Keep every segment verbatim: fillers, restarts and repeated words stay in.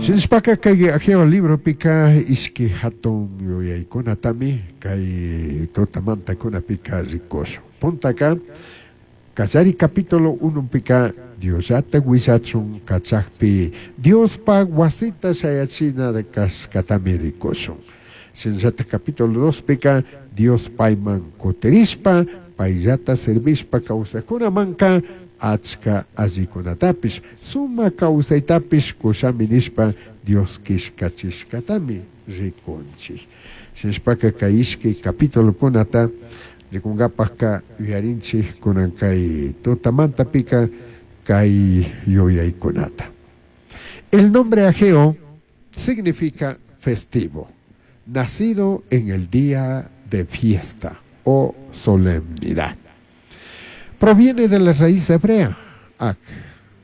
Shinashpaka kay Ageo libropika ishki hatun yuyaykunatami kay tutamantakunapika rikushun. Puntaka kallari capítulo unupika Diosllata willachun kachakpi Diospaj wasita shayachina kashkatami rikushun. Shinallata capítulo dospika Dios payman kutirishpa payllata servishpa kawsakkunamanka achka allikunatapish sumak kawsaytapish kushami nishpa Dios killkachishkatami rikunchik. Shinashpaka kay ishkay capitulokunata rikunkapakka yuyarinchik kunan kay tutamantapika kay yuyaykunata. El nombre Ageo significa festivo, nacido en el día de fiesta o solemnidad. Proviene de la raíz hebrea, ak,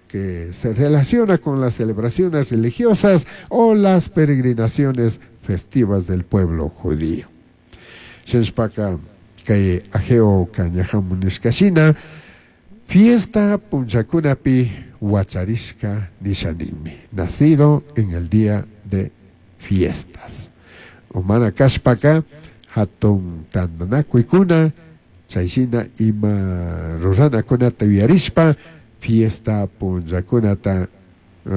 que se relaciona con las celebraciones religiosas o las peregrinaciones festivas del pueblo judío. Shinashpaka kay Ageo ñajamun nishkashina fiesta punllakunapi huacharishka nishanimi, nacido en el día de fiestas. O mana kashpaka hatun tantanakuykuna chayshina ima ruranakunata yuyarishpa fiesta punllakunata uh,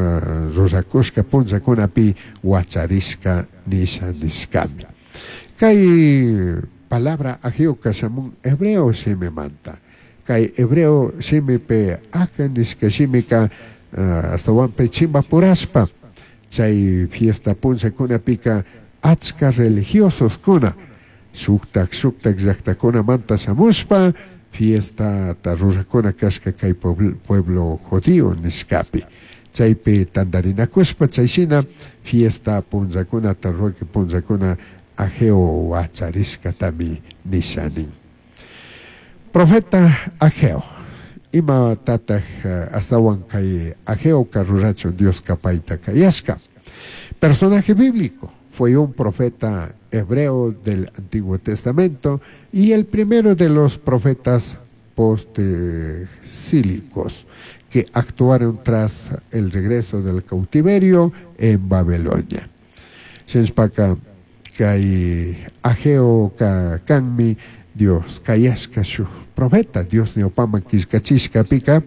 rurakushka punllakunapi huacharishka nisha nishkami. Kay palabra Ageo shamun hebreo shimimanta. Kay hebreo shimipi aja nishka shimika uh, astawanpi chimpapurashpa chay fiesta punllakunapika achka religiosos kuna shuktak shuktak llaktakunamanta shamushpa fiesta rurakuna kashka kay pueblo judío nishkapi. Chaypi tantarinakushpa chayshina fiesta punllakunata ruaki punllakuna Ageo huacharishkatami nishanin. Profeta Ageo. Ima tataj astawan kay Ageo rurachun Dioska payta kayashka. Personaje bíblico. Fue un profeta hebreo del Antiguo Testamento y el primero de los profetas postexílicos que actuaron tras el regreso del cautiverio en Babilonia. Shinashpaka kay Ageo ka kanmi Dios kayashka shuk profeta Dios ñawpaman killkachishkapika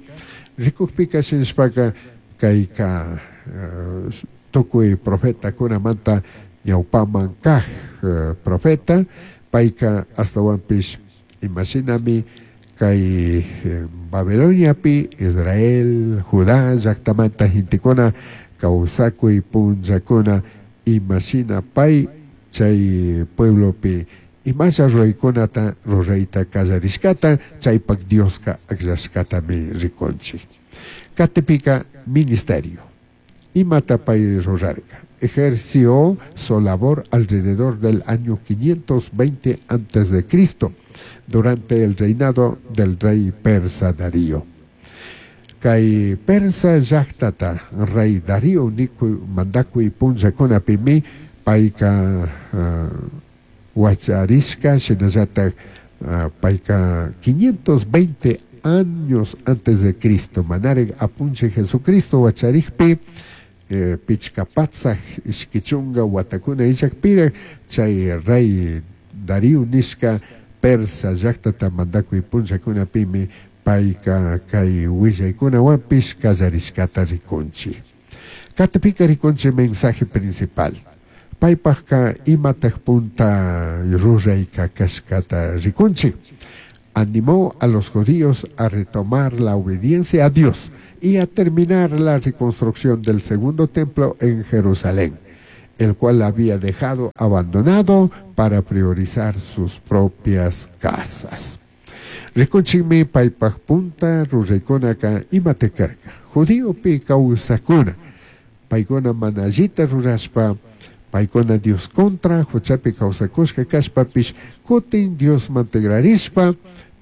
rikukpika shinashpaka kayka uh, tukuy profetakunamanta ñawpaman kaj uh, profeta payka astawanpish imashinami kay eh, Babiloniapi Israel Judá llaktamanta gentekuna kawsakuy punllakuna imashina pay chay pueblopi imasha ruraykunata rurayta kallarishkata chaypak Dioska akllashkatami rikunchik. Katipika ministerio. Imata pay rurarka. Ejerció su labor alrededor del año quinientos veinte antes de Cristo, durante el reinado del rey persa Darío. Kay persa llaktata rey Darío nikuy mandakuy punllakunapimi payka uh, huacharishka shinallatak uh, payka quinientos veinte años antes de Cristo manarik apunchik Jesucristo huacharikpi eh, pichka patsak ishki chunka watakuna illakpirak chay rey Darío nishka persa llaktata mandakuy punllakunapimi payka kay willaykunawanpish kallarishkata rikunchik. Katipika rikunchik mensaje principal. Paypajka imataj punta rurayka kashkata rikunchik. Animó a los judíos a retomar la obediencia a Dios y a terminar la reconstrucción del segundo templo en Jerusalén, el cual había dejado abandonado para priorizar sus propias casas. Rikunchikmi paypaj punta ruraykunaka imatekarka. Judíopi kawsakuna. Paykuna mana allita rurashpa, paykuna Dios contra, huchapi kawsakushka kashpapish, kutin Dios mantegrarishpa,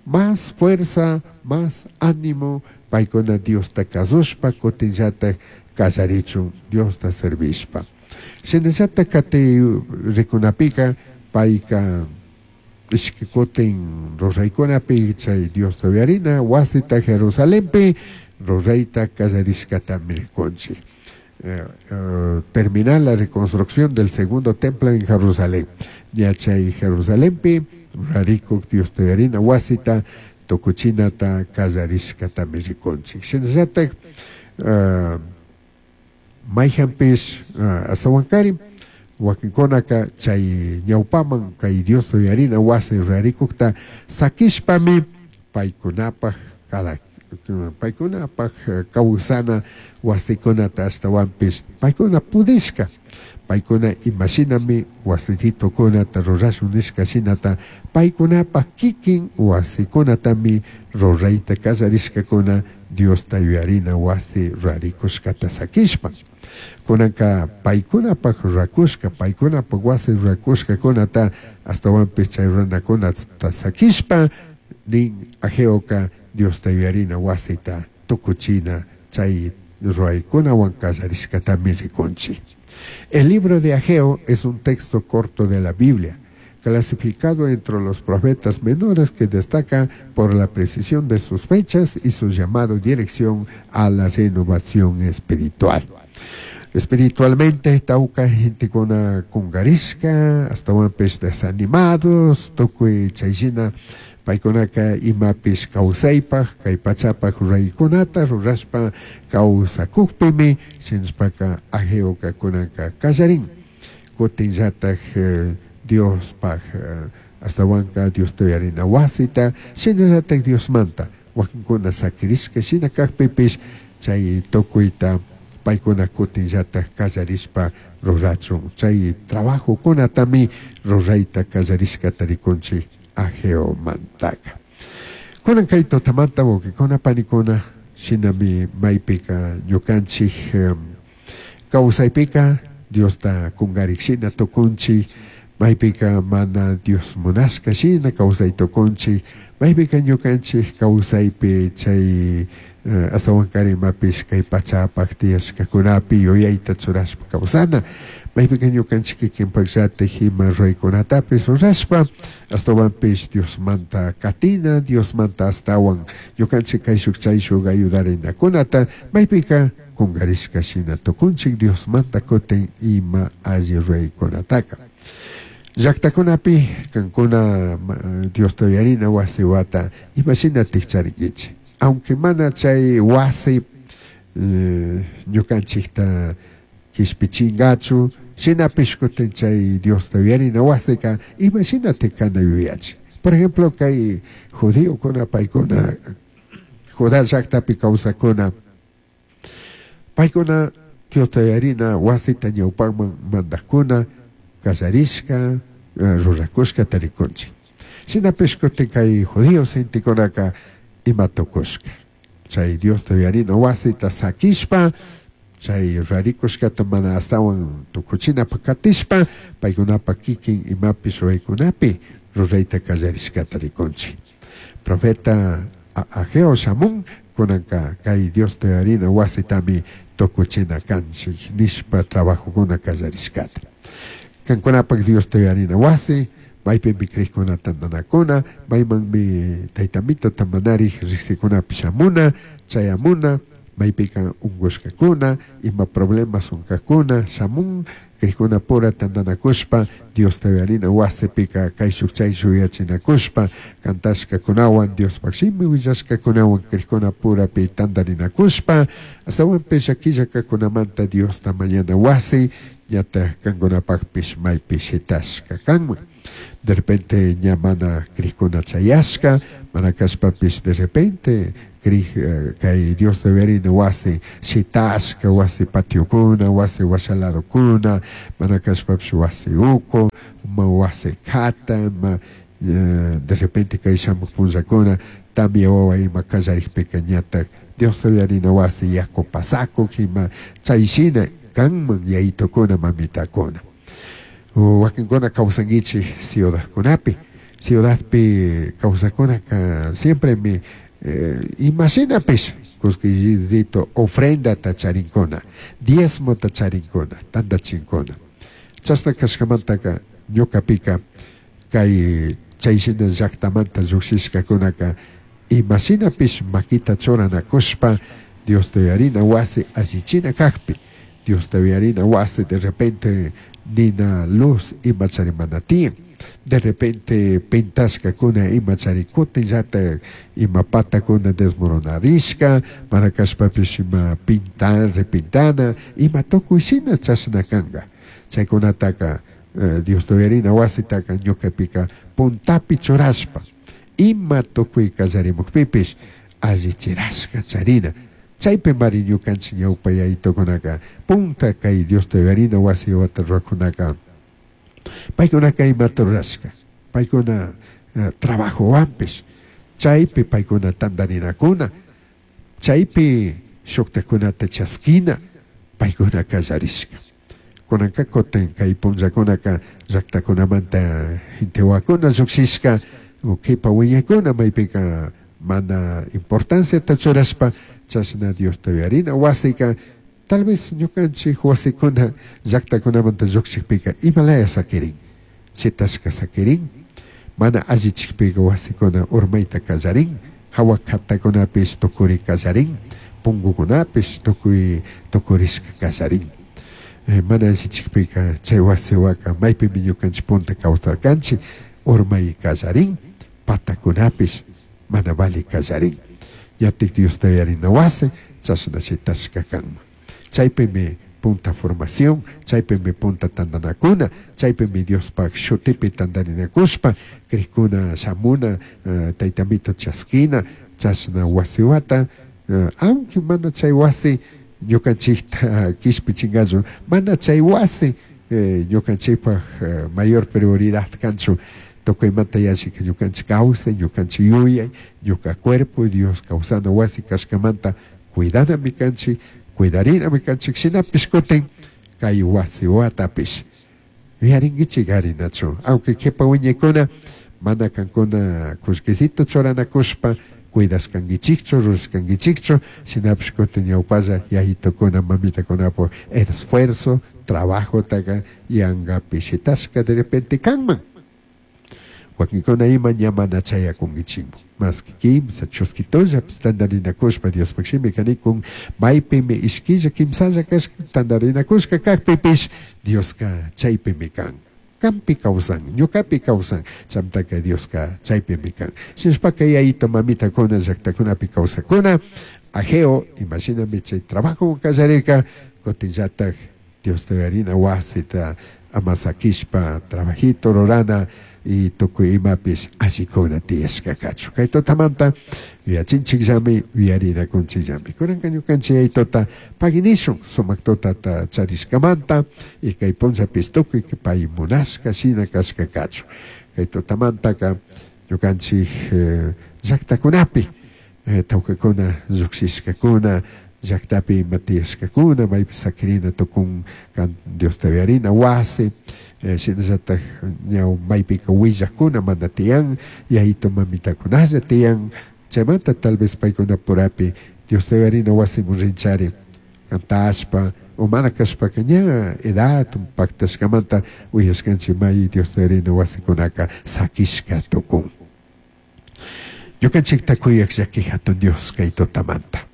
más fuerza, más ánimo, paykuna Diosta kasushpa, kutinllatak kallarichun Diosta servishpa. Shinallata kati rikunapika, payka ishki kutin ruraykunapi chay Diosta uyarina, wasita Jerusalenpi rurayta kallarishkatami rikunchik. eh, eh, terminar la reconstrucción del segundo templo en Jerusalén. Ña chay Jerusalenpi rurarikuk Diosta yuyarina wasita tukuchinata kallarishkatami rikunchik. Shinallatak uh, mayhanpish uh, ashtawankarin wakinkunaka chay ñawpaman kay Diosta yuyarina wasi rurarikukta sakishpami paykunapaj cada paykunapaj kawsana wasikunata ashtawanpish paykuna pudishka paykuna imashinami wasititukunata rurashun nishka shinata paykunapaj kikin wasikunatami rurayta kallarishkakuna Diosta yuyarina wasi rurarikushkata sakishpa. Kunanka paykunapaj rurakushka paykunapaj wasi rurakushkakunata ashtawanpish chay ruranakunata sakishpa nin Ageoka Diosta yuyarina wasita tukuchina chay ruraykunawan kallarishkatami rikunchik. El libro de Ageo es un texto corto de la Biblia, clasificado entre los profetas menores que destaca por la precisión de sus fechas y su llamado dirección a la renovación espiritual. Espiritualmente, tauca gentekuna kungarishka, ashtawanpish desanimados, tukuy chayshina paykunaka imapish kawsaypaj, kay pachapaj ruraykunata rurashpa kawsakukpimi, shinashpaka Ageoka kunanka kallarin. Kutinllatak eh, Diospaj eh, ashtawanka Diosta yuyarina wasita, shinallatak Diosmanta wakinkuna sakirishka shina kakpipish chay tukuyta paykuna kutinllatak kallarishpa rurachun chay trabajokunatami rurayta kallarishkata rikunchik Ageomantaka. Kunan kay tutamanta wawqikuna panikuna shinami maypika ñukanchik um, kawsaypika Diosta kungarik shina tukunchik maypika mana Dios munashka shina kawsay tukunchik maypika ñukanchik kawsaypi chay uh, ashtawankari imapish kay pachapaj tiyashkakunapi yuyayta churashpa kawsana maypika ñukanchik kikinpakllatik ima ruraykunatapish rurashpa ashtawanpish Diosmanta katina Diosmanta ashtawan ñukanchik kayshuk chayshuk ayudarinakunata maypika kungarishka shina tukunchik Diosmanta kutin ima alli ruraykunataka. Llaktakunapi kankuna Diosta yuyarina wasi wata imashina tikcharinkichik aunque mana chay wasi eh, ñukanchikta kishpichingachu shinapish kutin chay Diosta yuyarina wasika imashina tikana yuyachik. Por ejemplo, kay judiokuna paykuna Judá llaktapi kawsakuna paykuna Diosta yuyarina wasita ñawpakman mandakuna kallarishka rurakushka tarikunchik. Shinapish kutin kay judío gentekunaka ima tukushka chay Diosta yuyarina wasita sakishpa chay rurarikushkata mana ashtawan tukuchinapaj katishpa paykunapaj kikin imapish ruraykunapi rurayta kallarishkata rikunchik. Profeta Ageo shamun kunanka kay Diosta yuyarina wasitami tukuchina kanchik nishpa trabajokuna kallarishkata. Kankunapaj Diosta yuyarina wasi maypimi krikuna tantanakuna maymanmi taytamito tamanarik riksikunapi shamuna chayamuna maypika unkushkakuna ima problemas unkakuna shamun krikuna pura tantanakushpa Diosta yuyarina wasipika kayshuk chayshuk yuyachinakushpa kantashkakunawan Diospaj shimi willashkakunawan krikuna purapi tantarinakushpa ashtawanpish llakillakakunamanta Diosta mañana wasi ñataj kankunapajpish maypi shitashka kanman. De repente ña mana krikuna chayashka mana kashpapish de repente krij kay Diosta yuyarina wasi shitashka wasi patiokuna wasi washaladokuna mana kashpapish wasi uku ma wasi kata ma de repente kay shamuk punllakuna tamia wawa ima kallarikpika ñatak Diosta yuyarina wasi yaku pasakuk ima chayshina kanman yayitukuna mamitakuna. Wakinkuna kawsankichik ciudadkunapi ciudadpi kawsakunaka siempre mi eh, imashinapish kuskillito ofrendata charinkuna diezmota charinkuna tantachinkuna chashna kashkamantaka ñukapika kay chayshina llaktamanta llukshishkakunaka imashinapish makita churanakushpa Diosta yuyarina wasi allichina kakpi Diosta uyarina wasi de repente nina luz ima chari mana tiyan. De repente pintashkakuna ima chari kutinllatak ima patakuna desmoronarishka, mana kashpapish ima pintan, repintana, ima tukuy shina chashna kanka. Chaykunataka eh, Diosta uyarina wasitaka ñukapika puntapi churashpa ima tukuy kallarimukpipish allichirashka charina. Chaypi mari ñukanchik ñawpa yayitukunaka punta kay Diosta uyarina wasi wata rurakunaka paykunaka imata rurashka, paykuna uh, trabajowanpish chaypi paykuna tantarinakuna, chaypi shuktakunata chaskina paykuna kallarishka. Kunanka kutin kay punllakunaka llaktakunamanta gentewakuna llukshishka kipa wiñaykuna maypika mana importanciata churashpa chashna Diosta uyarina wasika tal vez ñukanchik wasikuna llaktakunamanta llukshikpika imalaya sakirin, shitashka sakirin, mana allichikpika wasikuna urmayta kallarin, hawa katakunapish tukuri kallarin, punkukunapish tukuy tukurishka kallarin. Eh, mana allichikpika chay wasiwaka maypimi ñukanchik punta kawsarkanchik urmay kallarin, patakunapish mana vali kallarin. Yatik Diosta uyarina wasi chashna shitashka kanman. Chaypimi punta formación, chaypimi punta tantanakuna, chaypimi Diospaj shutipi tantarinakushpa, krikuna shamuna, uh, taytamito chaskina, chashna wasiwata, uh, aunque mana chay wasi ñukanchikta kishpichinkachu, mana chay wasi eh, ñukanchikpaj eh, mayor prioridad kanchu, tukuymanta yallika ñukanchik kawsay, ñukanchik yuyay, ñuka cuerpo, Dios kawsana wasi kashkamanta cuidanami kanchik, cuidarinami kanchik, shinapish kutin kay wasiwatapish yuyarinkichik arinachu, aunque kipa wiñaykuna mana kankuna kullkisito churanakushpa cuidashkankichikchu, rurashkankichikchu, shinapish kutin ñawpalla yayitukuna mamitakunapak esfuerzo, trabajotaka yankapi shitashka de repente kanman. Wakinkuna ima ña mana chayakunkichikmu. Maski kimsa chuskitullapish tantarinakushpa Diospaj shimika nikun maypimi ishkilla kimsalla kashka tantarinakushka kakpipish Dioska chaypimi kan. Kampi kawsan, ñukapi kawsan, chamtaka Dioska chaypimi kan. Shinashpaka yayito mamitakuna llaktakunapi kawsakuna, Ageo, imashinami chay trabajo kallarirka, kutinllatak Diosta uyarina wasita amasakishpa trabajito rurana y tukuy imapish allikuna tiyashka kachu. Kay tutamanta yuyachinchikllami, yuyarinakunchikllami. Kunanka ñukanchik yayituta paginishun sumak tutata charishkamanta y kay punllapish tukuy pay munashka shina kashka kachu. Kay tutamantaka ñukanchik eh, llaktakunapi eh, tawkakuna llukshishkakuna llaktapi ima tiyashkakuna maypi sakirina tukun kan Diosta uyarina wasi eh, shinallatak ñaw maypika willakuna mana tiyan yayito mamitakunalla tiyan chaymanta tal vez paykuna purapi Diosta uyarina wasimun rinchari kantashpa o mana kashpaka ña edad paktashkamanta uyashkanchik may Diosta uyarina wasikunaka sakishka tukun. Ñukanchikta kuyak llaki hatun Dios kay tutamanta.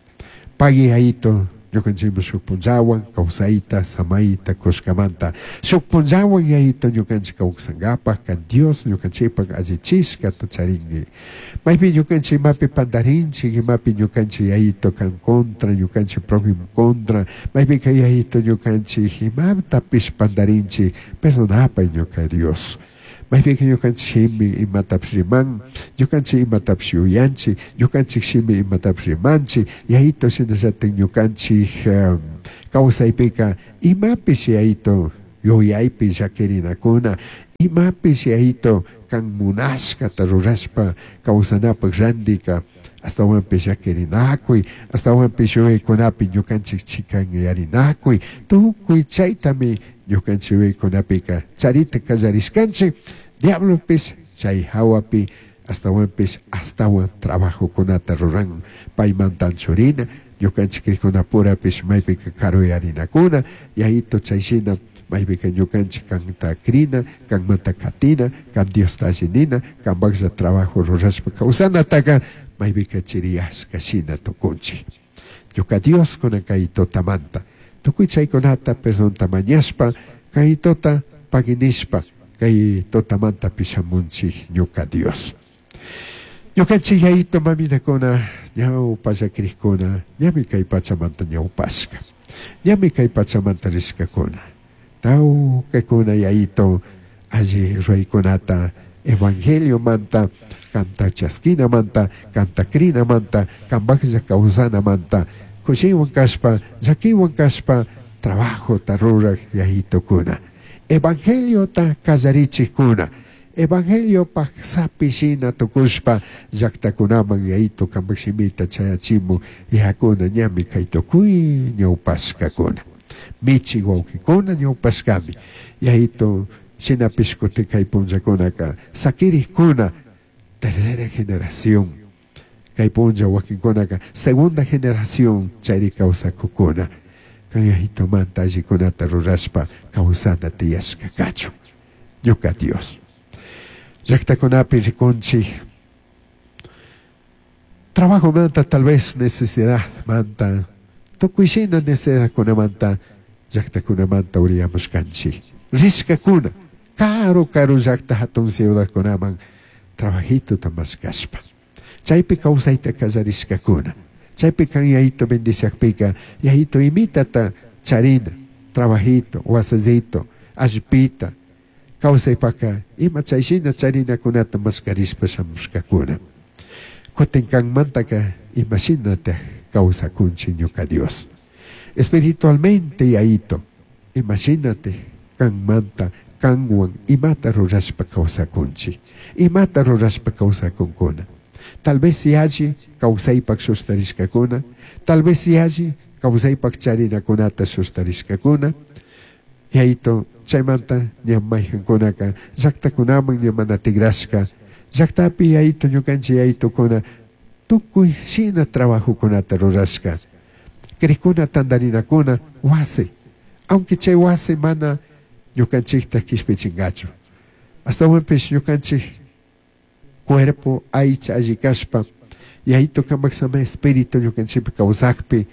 Pagui ayito ñukanchikmi shuk punllawan kawsayta samayta kushkamanta shuk punllawan yayito ñukanchik kawsankapak kan Dios ñukanchikpak allichishkata charinki. Maypi ñukanchik imapi pantarinchik, imapi ñukanchik yayito kan contra, ñukanchik prójimo contra, maypika yayito ñukanchik imatapish pantarinchik, perdonapay ñuka Dios. Maypika ñukanchik shimi imatapish riman, ñukanchik imatapish yuyanchik, ñukanchik shimi imatapish rimanchik, yayito shinallatik ñukanchik um, kawsaypika imapish yayito yuyaypi llakirinakuna, imapish yayito kan munashkata rurashpa kawsanapak randika astawanpish llakirinakuy, astawanpish yuyaykunapi ñukanchik chikanyarinakuy, tukuy chaytami ñukanchik yuyaykunapika charita kallarishkanchik. Diablopis chay hawapi astawanpish astawan trabajokunata ruran paymantan churina ñukanchik krikkunapurapish maypika karuyarinakuna yayito chayshina maypika ñukanchik kanta krina kanmanta katina kan Diosta alli nina kanpaklla trabajo rurashpa kawsanataka maypika chiriyashka shina tukunchik. Ñuka Dios kunan kay tutamanta Tukuy chaykunata perdonta mañashpa, kay tota paginishpa, kay totamanta pishamunchik ñuka Dios. Ñukanchik yayito mamitakuna, ñawpa llakirikkuna, ñami kay pachamanta ñawpashka. Ñami kay pachamanta rishkakuna. Tawkakuna yayito alli ruraykunata evangelio manta, kanta chaskina manta, kanta krina manta, kambaklla kawsana manta, kushiwan kashpa, llakiwan kashpa, trabajo ta ruraj yayitokuna. Evangelio ta kallarichikuna. Evangelio pak sapi shina tukushpa llaktakunaman yayito kambak shimita chayachimu yakuna ñami kay tukuy ñawpashkakuna. Michi wawkikuna ñawpashkami. Yayito shinapish kutin kay punllakunaka sakirikkuna tercera generación. Kay punlla wakinkunaka segunda generación chayri kawsakukuna. Kay yayitomanta allikunata rurashpa kawsana tiyashka kachun. Ñuka Dios. Llaktakunapi rikunchik trabajo manta tal vez necesidad manta tukuy shina necesidadkunamanta llaktakunamanta uriyamushkanchik rishkakuna karu karu llakta hatun ciudadkunaman trabajito mashkashpa chaypi kawsayta kallarishkakuna chaypi kan yayito bendiciakpika yayito imitata charina trabajito wasillito allpita kawsaypaka ima chayshina charinakunata mashkarishpa shamushkakuna. Kutin kanmantaka imashinata kawsakunchik ñuka Dios. Espiritualmente yayito imashinate kanmanta kanwan imata rurashpa kawsakunchik imata rurashpa kawsakunkuna. Tal vez yalli kawsaypak shustarishkakuna, tal vez yalli kawsaypak charinakunata shustarishkakuna. Yayito chaymanta ña maykankunaka llaktakunaman ña mana tigrashka llaktapi yayito ñukanchik yayitokuna tukuy shina trabajokunata rurashka krikuna tandarinakuna wasi aunque chay wasi mana ñukanchikta kishpichinkachu astawanpish ñukanchik cuerpo aycha alli kashpa yayito kambak sama espíritu ñukanchikpi kawsakpi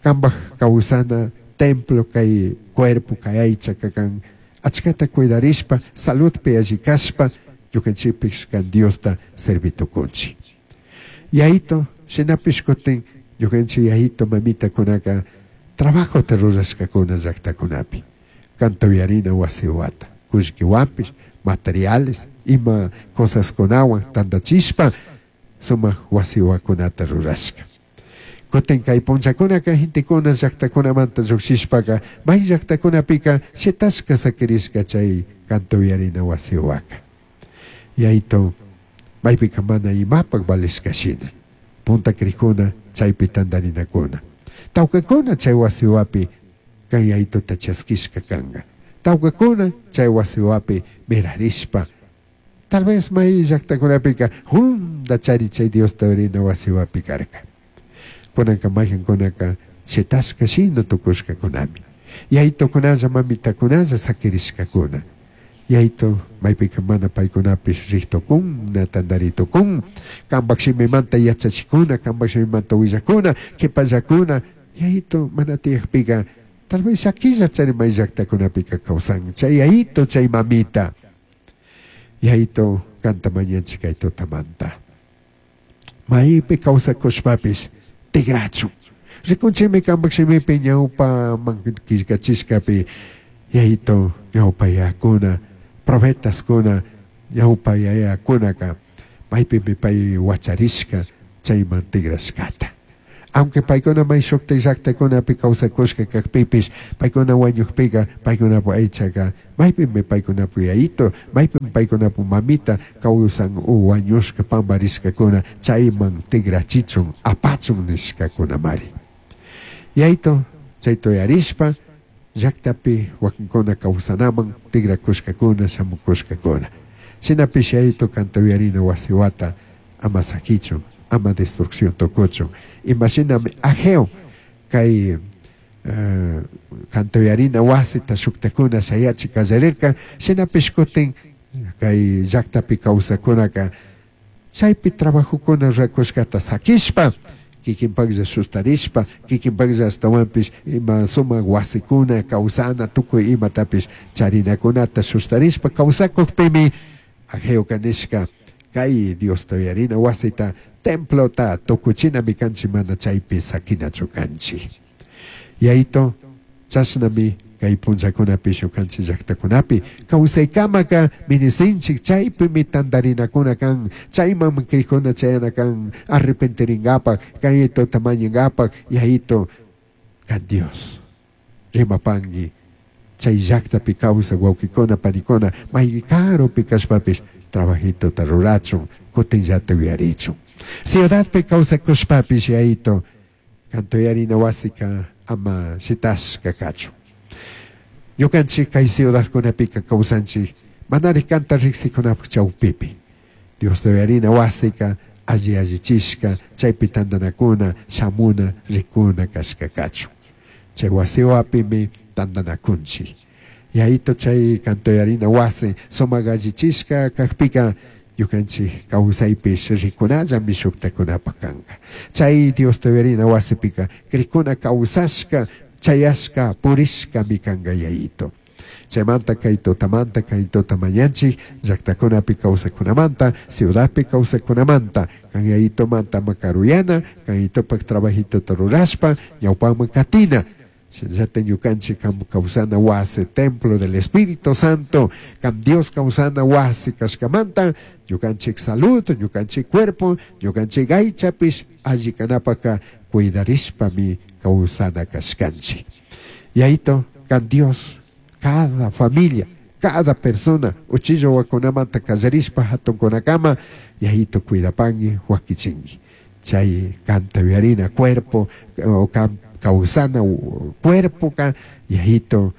kambak kawsana templo kay cuerpo kay aycha kakan achkata cuidarishpa saludpi alli kashpa ñukanchikpish kan Diosta servitukunchik. Yayito shinapish kutin ñukanchik yayito mamitakunaka trabajota rurashkakuna llaktakunapi kanta uyarina wasiwata kullkiwanpish materiales ima cosaskunawan tantachishpa sumak wasiwakunata rurashka. Kutin kay punllakunaka gentekuna llaktakunamanta llukshishpaka may llaktakunapika shitashka sakirishka chay kanta uyarina wasiwaka. Yayito maypika mana imapak valishka shina punta krikuna chaypi tantarinakuna tawkakuna chay wasiwapi kan yayitota chaskishka kanka tawkakuna chay wasiwapi mirarishpa tal vez may llaktakunapika hunda chari chay Diosta uyarina wasiwapi karka. Kunanka maykankunaka shitashka shina tukushkakunami yayitokunalla mamitakunalla sakirishkakuna. Yayito maypika mana paykunapish riktukuna tantaritukun kambak shimimanta yachachikuna kambak shimimanta willakuna kipallakuna yayito mana tiyakpika tal vez llakilla chari may llaktakunapika kawsan chay yayito chay mamita. Yayito kanta mañanchik kay tutamanta maypi kawsakushpapish tigrachun rikunchikmi kambak shimipi ñawpaman killkachishkapi yayito ñawpa yayakuna profetaskuna ñawpa yayakunaka maypimi pay wacharishka chayman tigrashkata. Aunque paykuna may shukta llaktakunapi kawsakushka kakpipish paykuna wañukpika paykunapu aychaka maypimi paykunapu yayito maypimi paykunapu mamita kawsan u wañushka pamparishkakuna chayman tigrachichun apachun nishkakunamari. Yayito chayta uyarishpa llaktapi wakinkuna kawsanaman tigrakushkakuna shamukushkakuna. Shinapish yayito kanta uyarina wasiwata ama sakichun ama destrucción tukuchun. Imashinami Ageo kay uh, kanta uyarina wasita shuktakuna shayachi kallarirka shinapish kutin kay llaktapi kawsakunaka chaypi trabajokuna rurakushkata sakishpa Kikinpaklla sustarishpa, kikinpaklla ashtawanpish ima sumak wasikuna kawsana tukuy imatapish charinakunata sustarishpa kawsakukpimi Ageoka nishka kay Diosta uyarina wasita templota tukuchinami kanchik mana chaypi sakinachu kanchik. Yayito chashnami kay punllakunapi ñukanchik llaktakunapi kawsaykamaka ministrinchik chaypimi tantarinakuna kan chayman crikuna chayana kan arrepentirinkapak kayitota mañankapak. Yayito kan Dios rimapanki chay llaktapi kawsak wawkikuna panikuna may karupi kashpapish trabajitota rurachun kutinllata uyarichun ciudadpi kawsakushpapish yayito kanta uyarina wasika ama shitashka kachun. Ñukanchik kay ciudadkunapika kawsanchik manari kanta riksikunapuk chawpipi Diosta uyarina wasika alli allichishka chaypi tantanakuna shamuna rikuna kashka kachun chay wasiwapimi tantanakunchik. Yayito chay kanta uyarina wasi sumak allichishka kakpika ñukanchik kawsaypish rikunallami shuktakunapak kanka chay Diosta uyarina wasipika krikuna kawsashka chayashka purishkami kanka yayito. Chaymanta kay tutamanta kay tuta mañanchik llaktakunapi kawsakunamanta ciudadpi kawsakunamanta kan yayitomanta makaruyana kan yayitopak trabajitota rurashpa ñawpaman katina. Shinallata ñukanchik kam kawsana wasi templo del Espíritu Santo kam Dios kawsana wasi kashkamanta ñukanchik salud ñukanchik cuerpo ñukanchik aychapish alli kanapaka cuidarishpami kawsana kashkanchik. Yayito kan Dios cada familia cada persona uchilla wakunamanta kallarishpa hatunkunakama yayito cuidapanki wakichinki chay kanta uyarina cuerpo o kam kawsana cuerpo ka yayito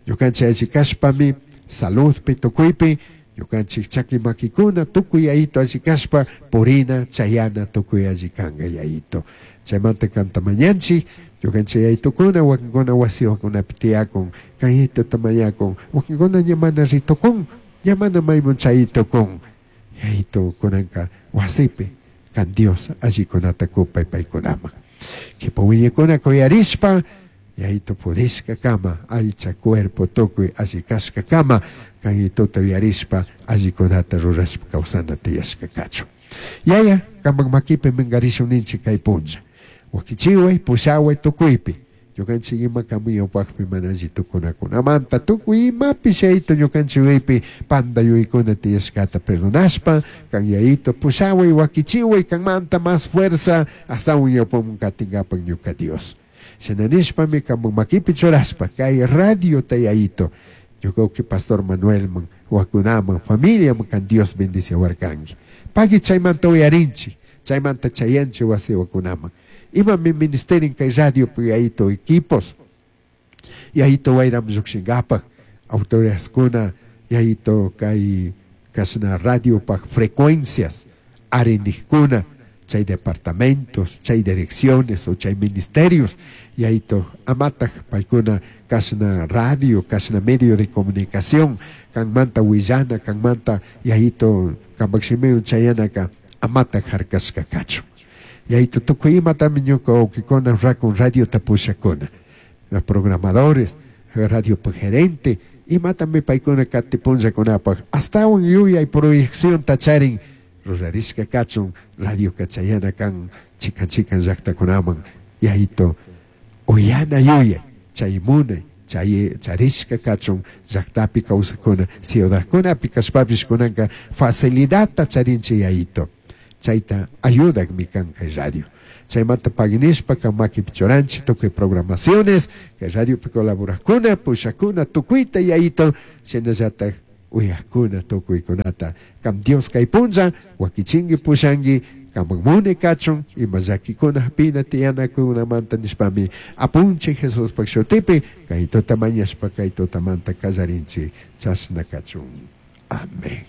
ñukanchik alli kashpami saludpi tukuypi ñukanchik chaki makikuna tukuy yayito alli kashpa purina chayana tukuy alli kanka yayito. Chaymanta kanta mañanchik ñukanchik yayitukuna wakinkuna wasiwakunapi tiyakun kan yayitota mañakun wakinkuna ña mana ritukun ña mana maymun chaytukun yayito kunanka wasipi kan Dios allikunata kupay paykunaman kipa wiñakuna kuyarishpa yayito purishka kama aycha cuerpo tukuy alli kashka kama kan yayitota uyarishpa allikunata rurashpa kawsana tiyashka kachun. Yaya kaman makipi minkarishun ninchik kay punlla wakichiway pushaway tukuypi ñukanchik ima kamuñawpakpi mana alli tukunakunamanta tukuy imapish yayito ñukanchik yuyaypi panda yuyaykuna tiyashkata perdonashpa kan yayito pushaway wakichiway kanmanta mas fuerza astawan ñawpaman katinkapak ñuka Dios. Shina nishpami kaman makipi churashpa kay radiota yayito ñuka uki Pastor Manuelman wakunaman familiaman kan Dios bendiciawarkanki pagui chaymanta uyarinchik chaymanta chayanchik wasi wakunaman imami ministerin kay radio yayito equipos yayito wayram llukshinkapak autoridadkuna yayito kay kashna radiopak frecuencias arinikkuna chay departamentos chay direcciones o chay ministerios yayito amataj paykuna kashna radio kashna medio de comunicación kanmanta willana kanmanta yayito kampak shimiwan chayanaka amataj harkashka kachun. Yayito tukuy imatami ñuka wawkikuna rakun radiota pushakuna los programadores radio gerente imatami paykuna kati punllakunapak astawan yuyay proyeccionta charin rurarishka kachun radioka chayana kan chikan chikan llaktakunaman yayito uyana yuyay chay munay chay charishka kachun llaktapi kawsakuna ciudadkunapi kashpapish kunanka facilidadta charinchik yayito chayta ayudakmi kan kay radio. Chaymanta paginishpa kan makipi churanchik tukuy programaciones kay radiopi colaborakuna pushakuna tukuyta yayito shinallatak uyakuna tukuykunata kam Dios kay punlla wakichinki pushanki kaman muni kachun ima llakikuna hapina tiyanakunamanta nishpami apunchik Jesuspak shutipi kay tuta mañashpa kay tutamanta kallarinchik chashna kachun. Amén.